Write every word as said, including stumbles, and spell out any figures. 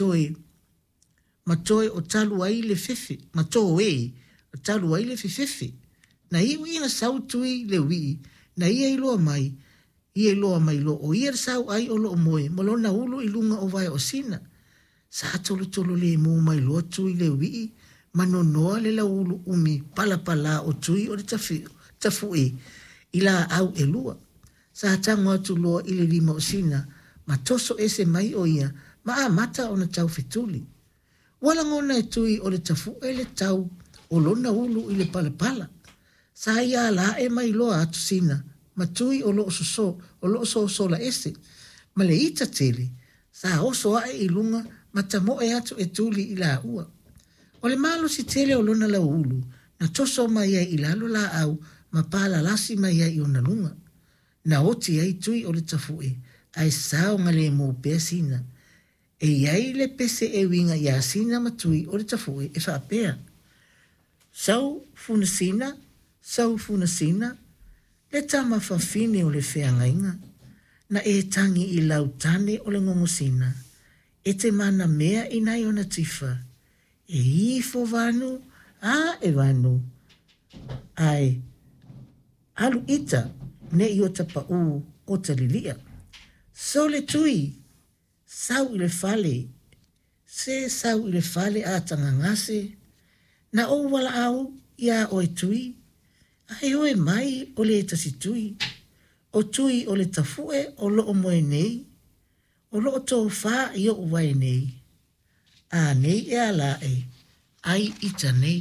toe ma toe o talu ai le fefe ma toe o talu ai le fefefe. Na iu ina sau Tui le uii na ia iloa mai ia iloa mai loa o ia le sauai o loo moe ma lona ulu i luga o vae o Sina. Sa tolotolo lemu mai loa Tui le uii ma nonoa le lauulu umi palapala o Tui o le Tafu'e i laau e lua. Sa tago atu loa i le lima o Sina ma toso ese mai o ia ma amata ona taufetuli. Ua lagona e Tui o le Tafu'e le tau o lona ulu i le palapala. Sa ia ala ae mai loa atu Sina ma Tui o loo soso o loo sosola ese ma le ita tele sa oso ae i luga ma tamoe atu e tuli i laua. O le malosi tele o lona lauulu na toso mai ai i lalo laau ma palalasi mai ai i ona luga. Na oti ai Tui o le Tafu'e ae saogalemu pea Sina. E i ai le pese e uiga iā Sina ma Tui o le Tafu'e e faapea: Sau funasina, sau funasina, le tama fafine o le feagaiga, na e tagi i lau tane o le gogosina, e te manamea i nai ona tifa, e ifo vanu, a e vanu, ae alu ita ne'i ota pa'ū ota lilia. Sole Tui, sau i le fale, se sau i le fale a tagagase, na ou valaau iā oe Tui, ae oe mai o le tasi Tui, o Tui o le Tafu'e o loo moe nei, o loo tofā i o'u vae nei, a nei e ala ae, ai ita nei.